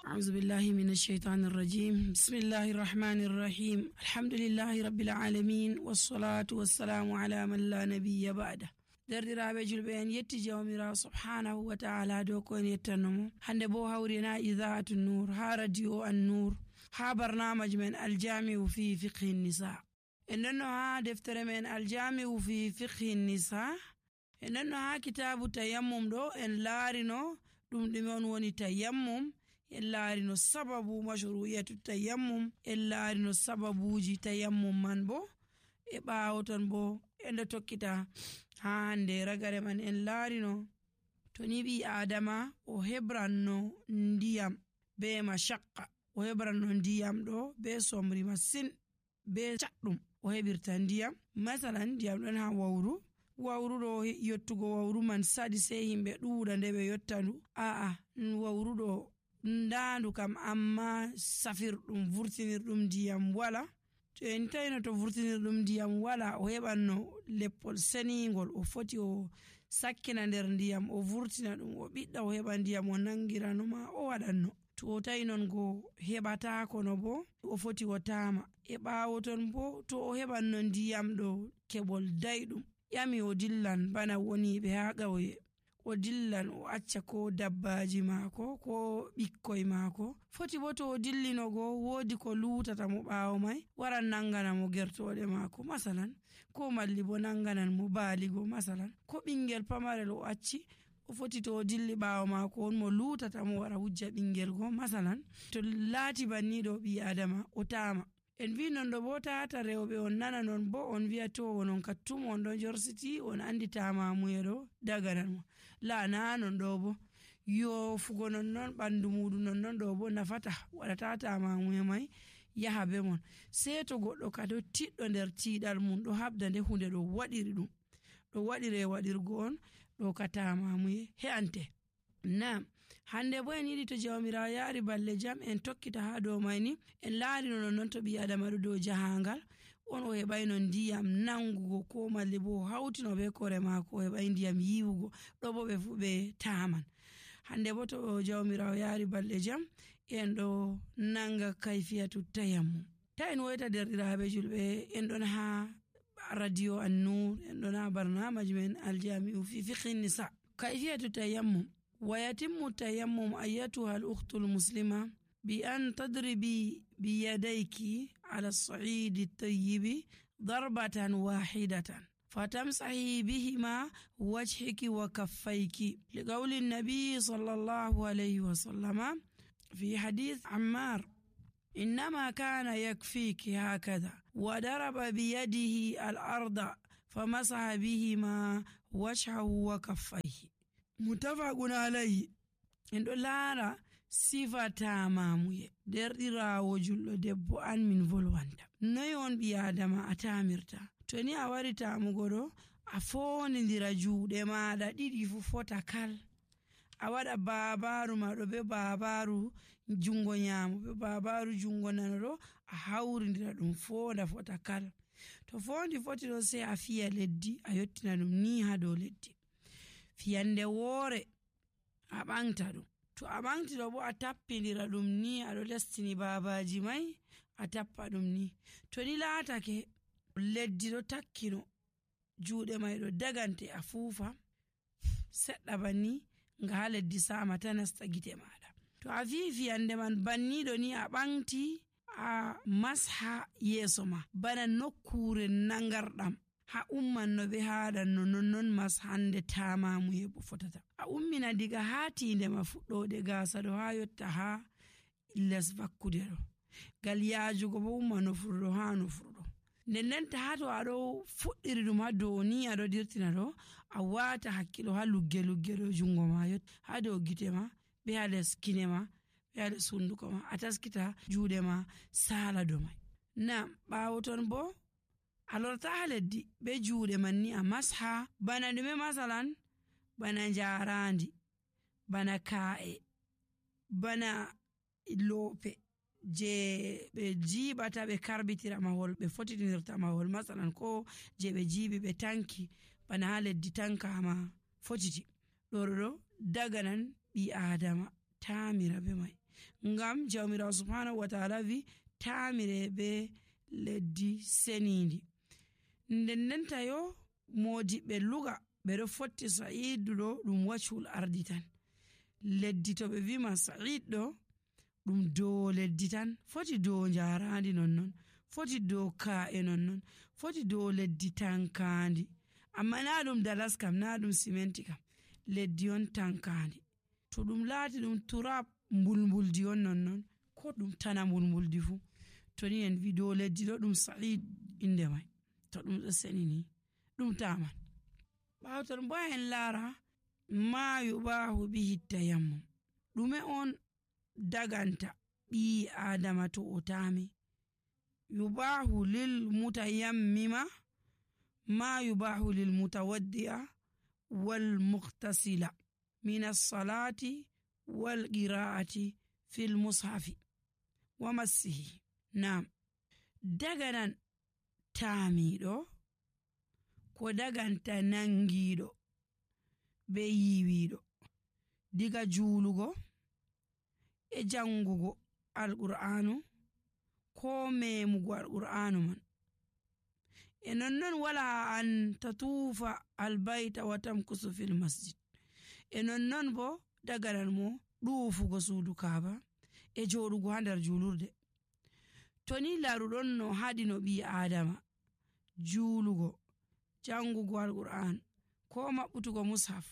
أعوذ بالله من الشيطان الرجيم. بسم الله الرحمن الرحيم. الحمد لله رب العالمين والصلاة والسلام على من لا نبي بعده. derdiraaɓe julɓe en yetti jawmirawo subhanahu wa ta'ala dow ko en yettannomo hande bo hawrina idaatu nur ha radio an nur ha barnamaji men aljami'u fi fiqhi nisa. En ɗonno ha deftere men aljami'u fi fiqhi nisa, en ɗonno ha kitabu tayammum ɗo en laarino ɗum ɗume on woni tayammum, en laarino sababu mashru'iyatu tayammum, en laarino sababuji tayammum man bo e ɓaawo ton bo en ɗo tokkita ha hande ragare man en laarino to ni ɓi adama o hebranno ndiyam be mashaqqa, o hebranno ndiyam ɗo be somri masin be caɗɗum o heɓirta ndiyam. masalan ndiyam ɗon ha wawru ɗo yottugo wawru man saɗi sei himɓe ɗuuɗa nde ɓe yottandu, wawru ɗo ndaandu kam amma safirɗum vurtinirɗum ndiyam wala. to en tawino to vurtinirɗum ndiyam wala o heɓanno leppol seningol o foti o sakkina nder ndiyam o vurtina ɗum o ɓiɗɗa o heɓa ndiyam o nangirano ma o waɗanno. to o tawi non go heɓatako no bo o foti o tama e ɓaawo ton bo to o heɓanno ndiyam ɗo keɓol dayɗum ƴami o dillan bana woniɓe ha ƙauye, o dillan o acca ko dabbaji maako ko ɓikkoy maako, foti bo to o dillinogo woodi ko lutata mo ɓaawo mai waran nangana mo gertoɗe maako masalan, ko malli bo nanganan mo baaligo masalan, ko ɓingel pamarel o acci o foti to o dilli ɓaawo maako on mo lutata mo wara wujja ɓingel go masalan. to laati banniɗo ɓi adama o tama. en vi non ɗo bo tata rewɓe on nana non bo on wi'a to wonon kattum on ɗon jorsiti on andi tamamuye ɗo daganan mo laana non ɗo bo yofugo non ɓandu muɗum non ɗo bo nafata waɗata tamamuye mai yaha be mon. sei to goɗɗo kado tiɗɗo nder tiiɗal mum ɗo habda nde hunde ɗo waɗiri ɗum ɗo waɗire waɗirgo on ɗo ka tamamuye he'ante. Naam, hande bo en yiɗi to jawmirawo yaari balle jam en tokkita ha dow mayni en laarino non to ɓi adama ɗo dow jahangal on o heɓayno ndiyam nangugo ko malli bo hawtino be kore maako o heɓay ndiyam yiwugo ɗo bo ɓe fu ɓe taman. hande bo to jawmirawo yaari balle jam en ɗo nanga kayfiyatu tayammum. ta en woyta derɗiraɓe julɓe en ɗon ha radio an nur, en ɗon ha barnamaji men aljami'u fi fiqhi nisa. kayfiyatu tayammum: ويتم التيمم أيتها الأخت المسلمة بأن تضربي بيديك على الصعيد الطيب ضربة واحدة فتمسحي بهما وجهك وكفيك، لقول النبي صلى الله عليه وسلم في حديث عمار: إنما كان يكفيك هكذا، وضرب بيده الأرض فمسح بهما وجهه وكفيه. mutafaqun alayhi. en ɗo laara sifa tamamuye derɗirawo julɗo debbo an min volwanta noy on ɓi adama a tamirta. to ni a wari tamugo ɗo a fonidira juuɗe maɗa ɗiɗi fu fota kal, a waɗa babaru maɗo be babaru jungo nyamo be babaru jungo nano ɗo a hawridira ɗum fonda fota kal. to fondi foti ɗo sei a fiya leddi a yottina ɗum ni ha dow leddi. fiyande woore a ɓangta ɗum, to a ɓangti ɗo bo a tappidira ɗum ni aɗo lestini babaji mai a tappa ɗum ni. to ni laatake leddi ɗo takkino juuɗe mai ɗo dagante a fuufa seɗɗa banni nga ha leddi sama ta nasta gite maɗa. to a fi fiyande man banniɗo ni a ɓangti a masha yeeso ma bana nokkure nangarɗam ha ummanno ɓe haɗanno nonnon mas hande tamamuye bo fotata. a ummina diga ha tinde ma fuɗɗode gasa ɗo ha yotta ha les vakkude ɗo gal yajugo bo umma nofruɗo ha nofruɗo. nden ta ha to aɗo fuɗɗiri ɗum ha dow ni aɗo dirtina ɗo a wata hakkilo ha lugge ɗo jungo ma yotta ha dow gite ma be ha les kine ma be ha les hunduko ma a taskita juuɗe ma sala do mai. na ɓawo ton bo a lorta ha leddi be juuɗe man ni a masha bana ɗume masalan bana jarandi, bana ka'e, bana loope je ɓe jiɓata ɓe karbitira mahol ɓe fotitinirta mahol masalan ko je ɓe jiɓi ɓe tanki bana ha leddi tankama fotiti ɗo daganan ɓi adama tamira be mai. ngam jawmirawo subhanahu wa ta'ala wi tamire be leddi senindi. Nden tayo modiɓɓe luga ɓeɗo fotti sa'idu ɗo ɗum wacul ardi tan. Leddi to ɓe wima sa'id ɗo ɗum dow leddi tan, foti dow jarandi nonnon, foti dow ka'e nonnon, foti dow leddi tankandi, amma na ɗum dalas kam, na ɗum simenti kam, leddi on tankandi. To ɗum laati ɗum turab mbulmbuldi on nonnon, ko ɗum tana mbulmbuldi fu, to ni en wi dow leddi ɗo ɗum sa'id inde mai, to ɗum ɗo senini ɗum taman. Ɓawton bo en lara ma yubahu bihi tayammum, ɗume on daganta ɓii adama to o tami. Yubahu lil mutayammima ma yubahu lil mutawaddi'a wal muqtasila min as-salati wal qira'ati fil mushafi wa massihi. Naam, daganan tamiɗo ko daganta nangiɗo be yiwiɗo diga julugo e jangugo alqur'anu ko memugo alqur'anu man. E nonnon wala an tatufa albayta wa tamkusu fil masjid. E nonnon bo daganan mo ɗuufugo suudu kaaba e joɗugo ha nder julurde. To ni laruɗon no haɗi no ɓi adama julugo, jangugo alqur'an, ko maɓɓutugo mushaf,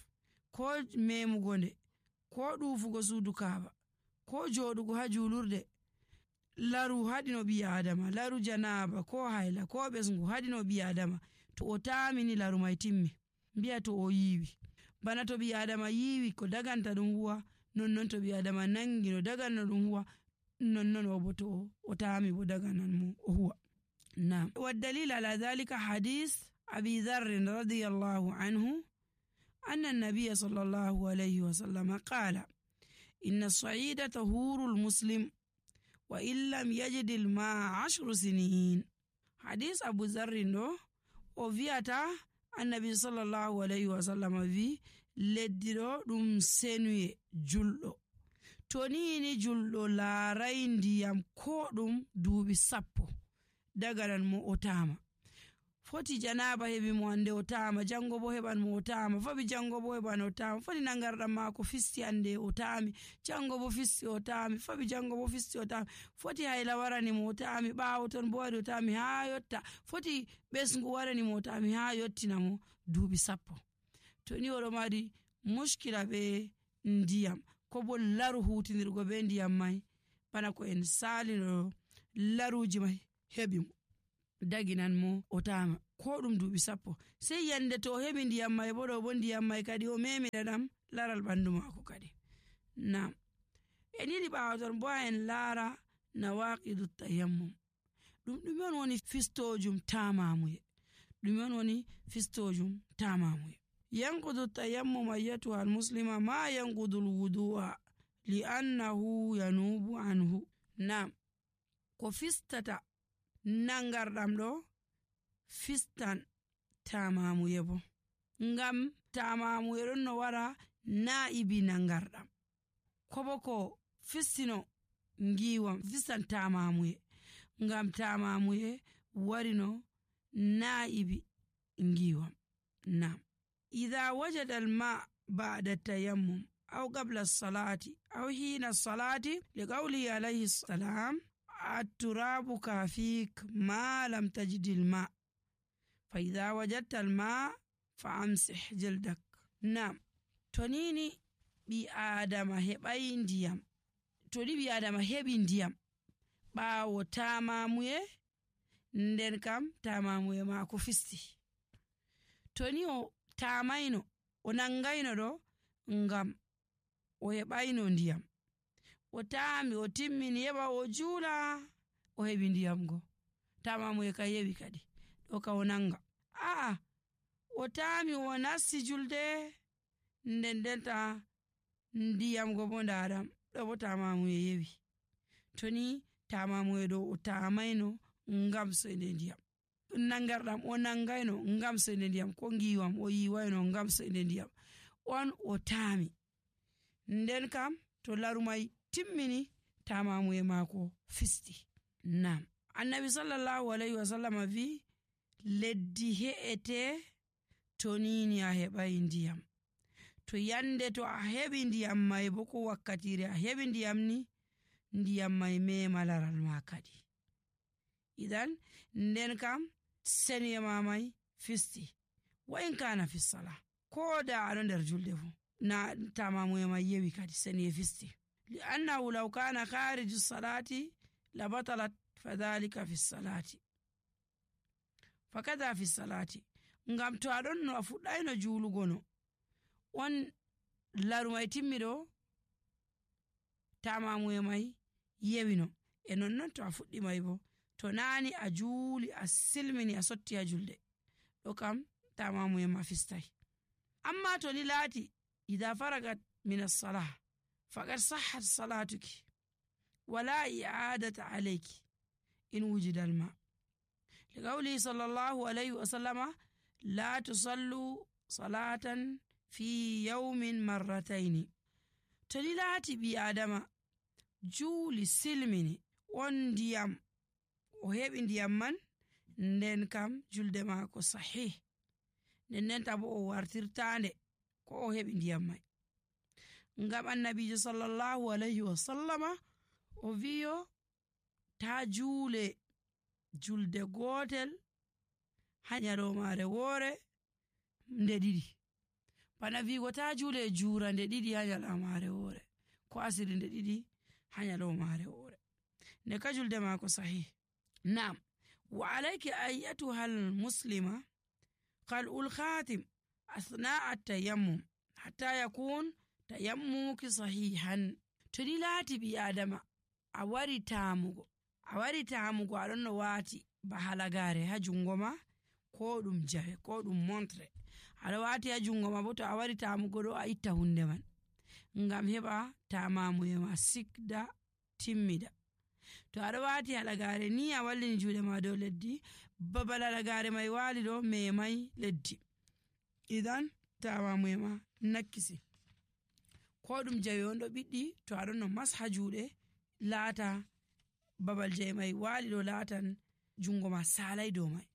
ko memugo nde, ko ɗuufugo suudu kaaba, ko joɗugo ha julurde, laru haɗi no ɓi adama, laru janaba ko hayla ko ɓesgu haɗi no ɓi adama. To o tamini laru mai timmi, mbiya to o yiwi. Bana to ɓi adama yiwi ko daganta ɗum huwa, nonnon to ɓi adama nangi no daganno ɗum huwa, nonnon o bo to o tami bo daganan mo o huwa. Naam. والدليل على ذلك حديث أبي ذر رضي الله عنه أن النبي صلى الله عليه وسلم قال إن الصعيد طهور المسلم وإن لم يجد الماء 10 سنين. حديث أبو ذر وفيتا النبي صلى الله عليه وسلم في leddiɗo ɗum senuye julɗo. To ni julɗo laarai ndiyam ko ɗum duuɓi 10 daganan mo o tama. Foti janaba heɓi mo hande o tama, jango bo heɓan mo o tama, fabi jango bo heɓan o tama, foti nangarɗam mako fisti hande o tami, jango bo fisti o tami, fabi jango bo fisti o tami, foti hayla warani mo o tami, ɓawo ton bo waɗi o tami ha yotta, foti ɓesgu warani mo o tami ha yottina mo duuɓi 10. To ni oɗo mari muskila be ndiyam ko bo laru hutinirgo be ndiyam mai, bana ko en salino laruji mai heɓi mo daginan mo o tama ko ɗum duuɓi 10, sai yande to o heɓi ndiyam mai bo ɗo bo ndiyam mai kadi o memira ɗam laral ɓandu mako kadi. Naam, en yiɗi ɓawaton bo en laara nawaqidu tayammum, ɗum ɗume on woni fistojum tamamuye, ɗume on woni fistojum tamamuye. ينقض التيمم أيتها المسلمة ما ينقض الوضوء لأنه ينوب عنه. نعم، ko fistata nangarɗam ɗo fistan tamamuye bo, ngam tamamuye ɗon no wara na'ibi nangarɗam, ko bo ko fistino ngiwam fistan tamamuye, ngam tamamuye warino na'ibi ngiwam. Naam. إذا وجد الماء بعد التيمم أو قبل الصلاة أو حين الصلاة لقوله عليه السلام التراب كافيك ما لم تجد الماء فإذا وجدت الماء فأمسح جلدك. نعم، تونيني بي آدم هباي ndiyam, toni bi adama heɓi ndiyam ɓawo tamamuye, nden kam tamamuye mako fisti, toni o tamaino o nangaino ɗo ngam o heɓaino ndiyam, o tami o timmini heɓa o juula o heɓi ndiyam go, tamamuye ka yewi kadi ɗo ka o nanga. A'a, o tami o nasti julde, nden denta ndiyam go bo ndaɗam ɗo bo tamamuye yewi. Toni tamamuye ɗo o tamaino ngam soyde ndiyam, nangarɗam o nangaino ngam soyde ndiyam, ko ngiwam o yiwaino ngam soyde ndiyam, on o tami, nden kam to laru mai timmini tamamuye maako fisti. Nam annabi sallallahu alaihi wasallama vi leddi he'ete to nini a heɓai ndiyam. To yande to a heɓi ndiyam mai bo ko wakkatire a heɓi ndiyam ni, ndiyam mai mema laral ma kadi. Idan nden kam seniye ma mai fisti. Wa in kana fi sala, ko da aɗo nder julde fu na tamamuye mai yewi kadi seniye fisti. Li annahu law kana khariju salati la batalat fadhalika fi salati. Fakada fi salati. Ngam to aɗon no a fuɗɗayno julugo no on laru mai timmiɗo tamamuye mai yewino, e nonnon to a fuɗɗi mai bo to nani a juuli a silmini a sotti ha julde ɗo kam tamamuye ma fistai. Amma to ni laati idha faragat min as-salah faqad sahhat salatuki wala i'adata alayki in wujida al-ma. Liqawli sallallahu alayhi wa sallama la tusallu salatan fi yawmin marrataini. To ni laati bi adama juuli silmini on ndiyam o heɓi ndiyam man, nden kam julde maako sahih, nden tabo o wartirtande ko o heɓi ndiyam mai. Ngam annabijo sallallahu alayhi wa sallama o wiyo ta juule julde gotel ha nyalomare woore nde ɗiɗi, bana wigo ta juule jura nde ɗiɗi ha nyalomare woore, ko asiri nde ɗiɗi ha nyalomare woore, nde ka julde maako sahih. Naam, wa alayki ayyatuha al-muslima qal'ul khatim athna'a at-tayammum hatta yakun tayammuki sahihan. To ni laati bi adama a wari tamugo aɗon no waati ba halagare ha jungo ma, ko ɗum jawe ko ɗum montre aɗa waati ha jungo ma, bo to a wari tamugo ɗo a itta hunde man ngam heɓa tamamuye ma sikda timmida. To aɗa waati halagare ni a wallini juuɗe ma dow leddi, babal halagare mai waali ɗo memai leddi, idan tamamuye ma nakkisi. Ko ɗum jawe on ɗo ɓiɗɗi, to aɗon no masha juuɗe laata babal jawe mai waali ɗo laatan jungo ma salai dow mai.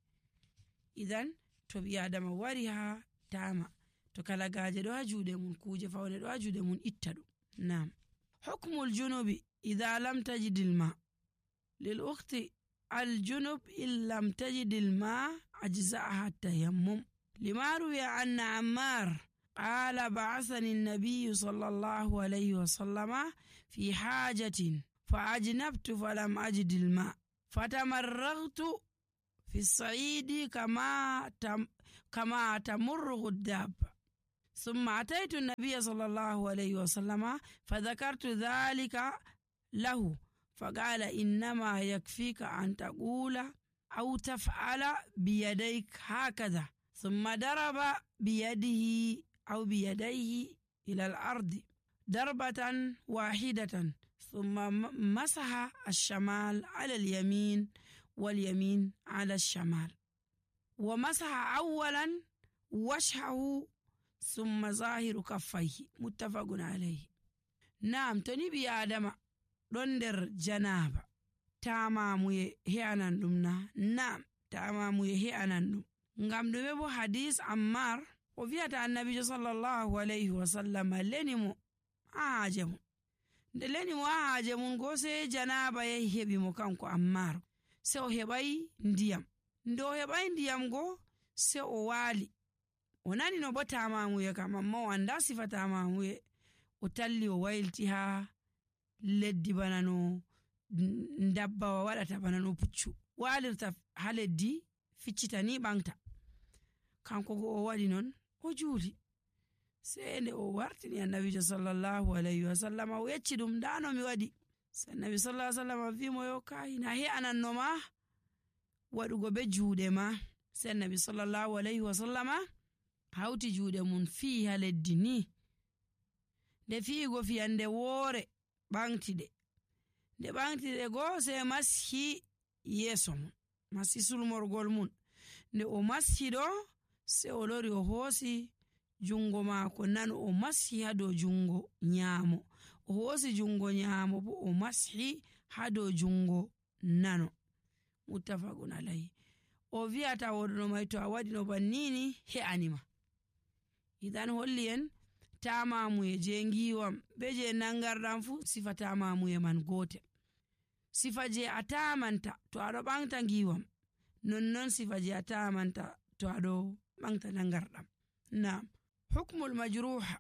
Idan to ɓi adama wari ha tama, to kalagaje ɗo ha juuɗe mun, kuje faune ɗo ha juuɗe mun, itta ɗum. Naam. Hukmul junubi idha lam tajidil ma. Lil ukhti al junub in lam tajidil ma ajza'aha tayammum. Lima ruwiya anna Ammar qala ba'athani an-nabiy sallallahu alayhi wa sallama fi hajatin fa ajnabtu falam ajidil ma fatamarraghtu في الصعيد كما تمر الدابة، ثم أتيت النبي صلى الله عليه وسلم فذكرت ذلك له فقال إنما يكفيك أن تقول أو تفعل بيديك هكذا، ثم ضرب بيده أو بيديه إلى الأرض ضربة واحدة، ثم مسح الشمال على اليمين واليمين على الشمال، ومسح أولا وجهه ثم ظاهر كفيه، متفق عليه. نعم، تنبي آدم دندر جنابة tamamuye he'anan ɗum na? Naam, tamamuye he'anan ɗum. Ngam ɗume bo hadis Ammar o wi'ata annabijo sallallahu alayhi wa sallam leni mo ha haaje mum. Nde leni mo ha haaje mum go sai janaba yahi heɓi mo kanko Ammar, sai o heɓai ndiyam. Nde o heɓai ndiyam go sai o waali, o nani no bo tamamuye kam, amma o anda sifa tamamuye, o talli o waylti ha leddi bana no dabbawa waɗata, bana no puccu walirta ha leddi ficcita ni ɓangta. Kanko go o waɗi non o juuli, sai nde o wartini annabijo sallallahu alayhi wa sallam o yecci ɗum dano mi waɗi. Sai annabi sallallahu alayhi wa sallam wi mo yo kai na he'ananno ma waɗugo be juuɗe ma. Sai annabi sallallahu alayhi wa sallama hawti juuɗe mun fii ha leddi ni, nde fiigo fiyande woore ɓangtiɗe, nde ɓangtiɗe go sai mashi yeeso mun, mashi sulmorgol mun. Nde o mashi ɗo sai o lori o hoosi jungo maako nano o mashi ha dow jungo nyaamo, o hoosi jungo nyamo bo o mashi ha dow jungo nano. Muttafaqun alayhi. O wi'ata woɗono mai to a waɗi no bannini he'anima. Idan holli en tamamuye je ngiwam be je nangarɗam fu sifa tamamuye man gotel. Sifa je a tamanta to aɗo ɓangta ngiwam nonnon sifa je a tamanta to aɗo ɓangta nangarɗam. Na'am. Hukmul majruha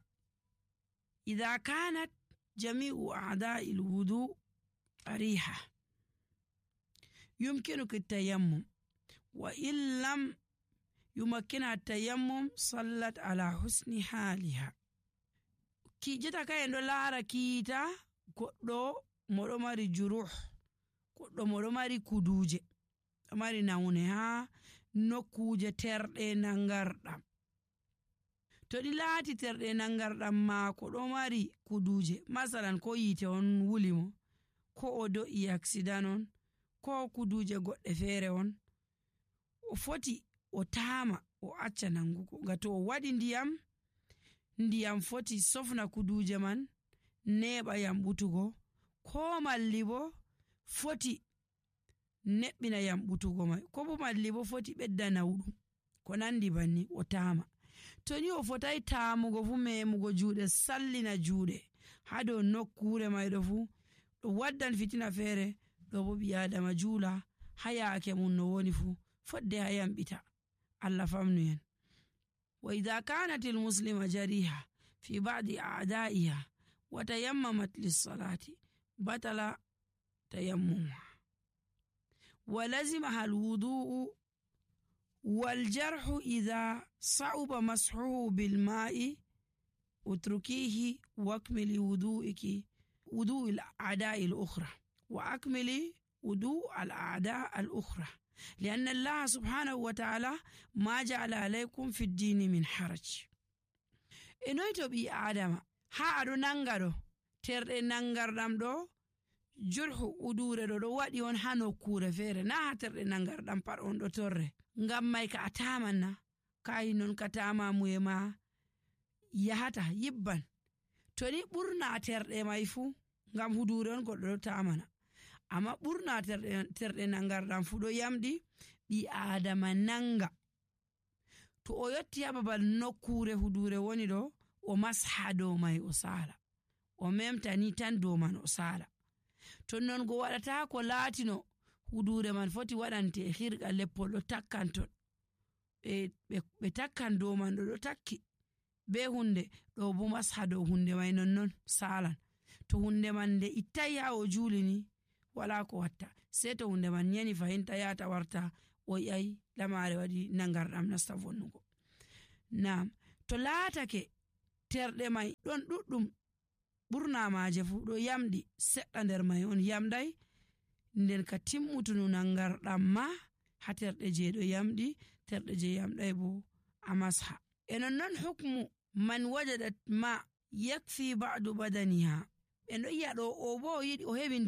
idha kanat jami'u a'da'i al-wudu ariha يمكنك التيمم وإن لم يمكنها التيمم صلت على حسن حالها. ki jeta ka en ɗo laara kiita goɗɗo moɗo mari juruh, goɗɗo moɗo mari kuduje, ɗo mari nawne ha nokkuje terɗe nangarɗam. To ɗi laati terɗe nangarɗam maako ɗo mari kuduje, masalan ko yite on wuli mo, ko o do'i accident on, ko kuduje goɗɗe feere on, o foti o taama o acca nangugo, nga to o waɗi ndiyam foti sofna kuduje man neɓa yamɓutugo, ko malli bo foti neɓɓina yamɓutugo mai, ko bo malli bo foti ɓedda nawɗum, ko nandi banni o taama. To ni o fotai taamugo fu memugo juuɗe sallina juuɗe ha dow nokkure mai ɗo fu ɗo waddan fitina feere, ɗo bo ɓi adama juula ha yaake mum no woni fu fodde ha yamɓita. Allah famnu en. Wa idha kanat al-muslima jariha fi ba'di a'da'iha wa tayammamat lis-salati batala tayammumuha wa lazimaha al-wudu'u wal jarhu idha sa'uba mashuhu bil ma'i utrukihi wakmili wudu'iki wudu'il a'da'i al-ukhra wa akmili wudu' al-a'da' al-ukhra لأن الله سبحانه وتعالى ما جعل عليكم في الدين من حرج. enoyto ɓi adama ha aɗo nanga ɗo terɗe nangarɗam ɗo jurhu udure ɗo waɗi on ha nokkure feere, na ha terɗe nangarɗam pat on ɗo torre, ngam mai ka a tamanna kai non ka tamamuye ma yahata yibban. To ni ɓurna terɗe mai fu ngam hudure on goɗɗo ɗo tamana, amma ɓurna terɗe nangarɗam fu ɗo yamɗi ɓi adama nanga. To o yotti ha babal nokkure hudure woni ɗo o masha dow mai o sala, o memta ni tan dow man o sala. To non go waɗata ko laatino hudure man foti waɗante hirga leppol ɗo takkan ton, ɓe takkan dow man ɗo takki be hunde ɗo bo masha dow hunde mai nonnon salan. To hunde man nde ittai ha o julini wala ko watta, sai to hunde man yani fahinta yata warta o yayi lamare waɗi nangarɗam nasta vonnugo. Naam. To laatake terɗe mai ɗon ɗuɗɗum ɓurna maje fu ɗo yamɗi, seɗɗa nder mai on yamɗai, nden ka timmutunu nangarɗam ma ha terɗe je ɗo yamɗi, terɗe je yamɗai bo a masha. E nonnon hukmu man wajadat ma yakfi ba'du badaniha. En ɗo yi'a ɗo o bo o yiɗi o heɓi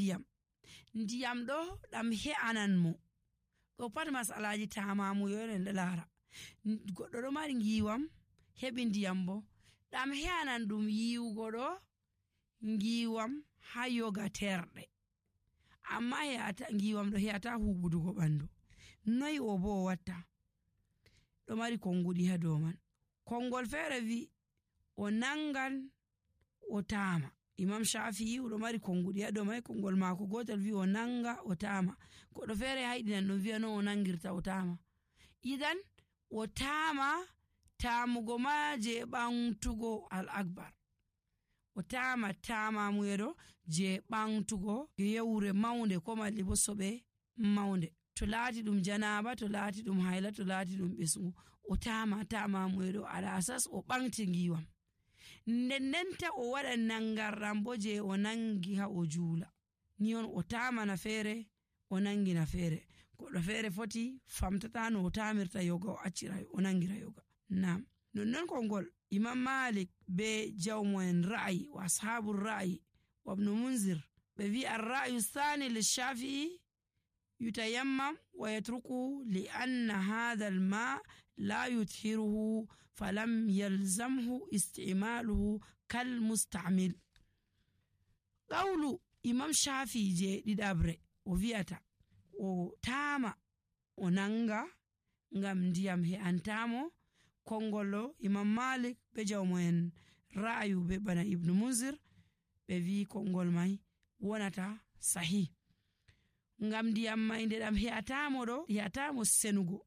ndiyam ɗo ɗam he'anan mo, ɗo pat masalaji tamamuyo en ɗo laara. Goɗɗo ɗo mari ngiwam heɓi ndiyam bo ɗam he'anan ɗum yiwugo ɗo ngiwam ha yoga terɗe, amma ngiwam ɗo he'ata huɓudugo ɓandu. Noyi o bo o watta? ɗo mari konguɗi ha dow man. Kongol feere wi o nangan o tama. Imam Shafi'i ɗo mari konguɗi ha dow mai, kongol maako gotel wi o nanga o tama, goɗɗo feere hayɗinan ɗum wi'a no o nangirta o tama. Idan o tama tamugo ma je ɓantugo al-akbar, o tama tamamuye ɗo je ɓantugo yewre maunde ko malli bo soɓe maunde. To laati ɗum janaba, to laati ɗum hayla, to laati ɗum ɓesgu, o tama tamamuye ɗo ala asas o ɓanti ngiwam. Ndendenta o waɗa nangarɗam bo je o nangi ha o juula, ni on o tamana feere o nangina feere. Goɗɗo feere foti famtata no o tamirta yoga o accira o nangira yoga. Naam. Nonnon kongol Imam Malik be jawmo'en ra'ayi wa ashabu ra'ayi wa ibn Munzir ɓe wi ar-ra'yu thani lish-Shafi'i yutayammam wa yatruku li anna hadha al-ma la yuthiruhu falam yalzamhu isti'maluhu kal musta'mil. qawlu imam shafi je ɗiɗabre o wi'ata o taama o nanga ngam ndiyam he'antamo. Kongollo imam malik be jawmo'en ra'ayu be bana ibnu munzir ɓe wi kongol mai wonata sahih ngam ndiyam mai nde ɗam he'atamo senugo,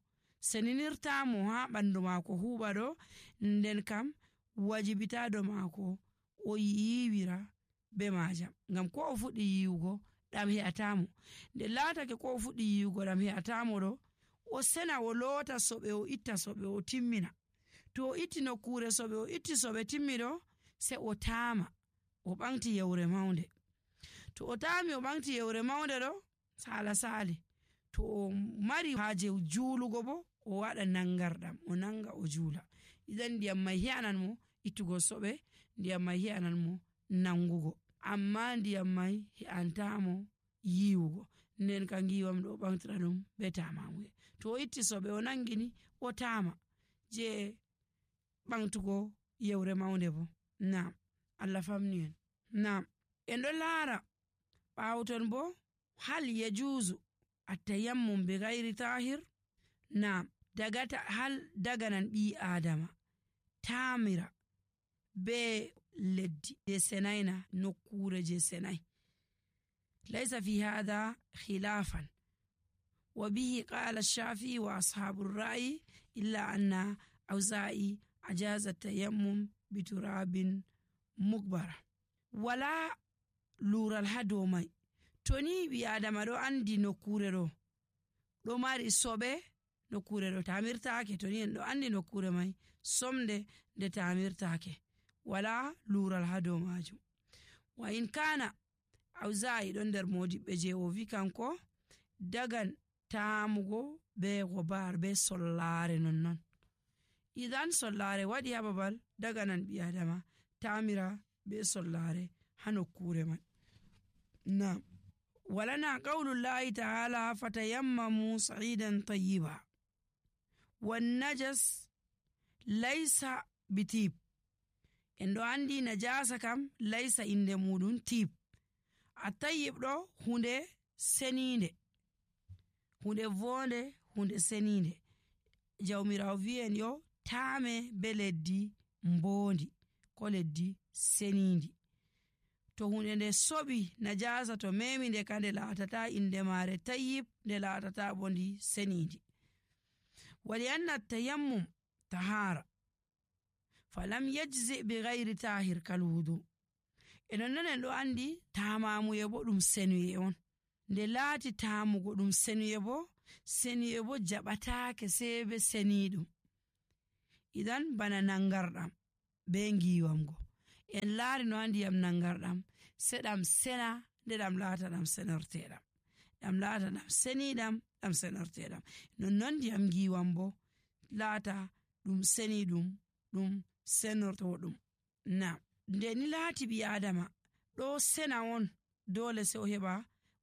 seninirtamo ha ɓandu maako huɓa ɗo, nden kam wajibita do maako o yiwira be majam, ngam ko o fuɗɗi yiwugo ɗam he'atamo. Nde laatake ko o fuɗɗi yiwugo ɗam he'atamo ɗo, o sena o loota soɓe, o itta soɓe, o timmina. To o itti nokkure soɓe, o itti soɓe timmi ɗo, se o taama o ɓamti yewre maunde. To o taami o ɓamti yewre maunde ɗo, sala sali. To o mari haaje juulugo bo, o waɗa nangarɗam, o nanga o juula. Idan ndiyam mai he'anan mo ittugo soɓe, ndiyam mai he'anan mo nangugo, amma ndiyam mai he'antamo yiwugo. Nden ka ngiwam ɗo o ɓamtira ɗum be tamamuye. To o itti soɓe o nangini, o taama je ɓamtugo yewre maunde bo. Naam, Allah famni en. Naam, en ɗo laara ɓawton bo hal yajuzu attayammum bi ghairi tahir. Naam, hal daganan ɓi adama taamira be leddi je senaina, nokkure je senai. Laysa fi hadha khilafan wa bihi qala ash-shafi'i wa ashabu ar-ra'yi illa anna awza'i ajaza tayammum bi turabin mukbara. Wala lural ha dow mai. To ni ɓi adama ɗo andi nokkure ɗo mari soɓe, nokkure ɗo tamirtake, to ni en ɗo andi nokkure mai somde nde tamirtake, wala lural ha dow majum. Wa in kana awza'i ɗon nder modiɓɓe je o vi kanko dagan taamugo be gobar be sollare nonnon. Idan sollare waɗi ha babal, daganan ɓi adama tamira be sollare ha nokkure man. Naam, walana qawlullahi ta'ala fatayammamu sa'idan tayyiba wan najas laysa bitib. En ɗo andi najasa kam laysa inde muɗum tib. A tayyib ɗo hunde seninde, hunde vonde, hunde seninde. Jawmirawo wi'en yo taame be leddi mbondi ko leddi senindi. To hunde nde soɓi najasa to memi nde ka nde laatata inde mare tayyib, nde laatata bo ndi senindi. Wali anna tayammum tahara falam yajzi bi ghairi tahir kal wudu. Enon non en ɗo andi tamamuye bo ɗum senuye on. Nde laati taamugo ɗum senuye bo jaɓatake sai be seniɗum. Idan bana nangarɗam be ngiwamgo, en laari no andi yam nangarɗam se ɗam sena nde ɗam laata ɗam senorteɗam, ɗam laata ɗam seniɗam, ɗam senorteɗam. Nonnon ndiyam ngiwam bo laata ɗum seniɗum, ɗum senortoɗum. Na nde ni laati ɓi adama ɗo sena on, dole se o heɓa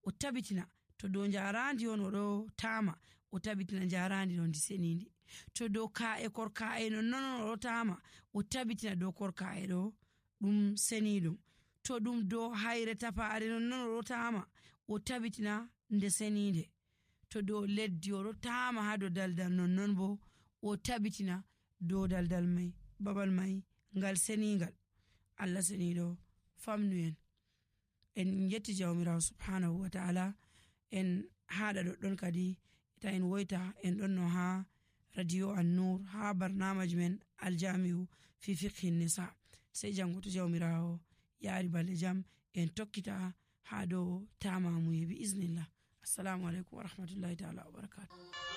o tabitina to dow jarandi on o ɗo taama, o tabitina jarandi ɗon ndi senindi. To dow ka'e korka'e nonnon o ɗo taama, o tabitina dow korka'e ɗo ɗum seniɗum. To ɗum dow hayre tapare nonnon o ɗo taama, o tabitina nde seninde. To dow leddi o ɗo taama ha dow daldal nonnon bo o tabitina dow daldal mai, babal mai ngal seningal. Allah seniɗo famnu en yetti jawmirawo subhanahu wa ta'ala. En haɗa ɗoɗɗon kadi ta en woyta en ɗon no ha radio an-nur ha barnamaji men aljami'u fi fiqhi nisa. Sai jango to jawmirawo yaari balɗe jam en tokkita ha dow tamamuye bi iznillah. Assalamu alaikum wa rahmatullahi ta'ala wa barakatuh.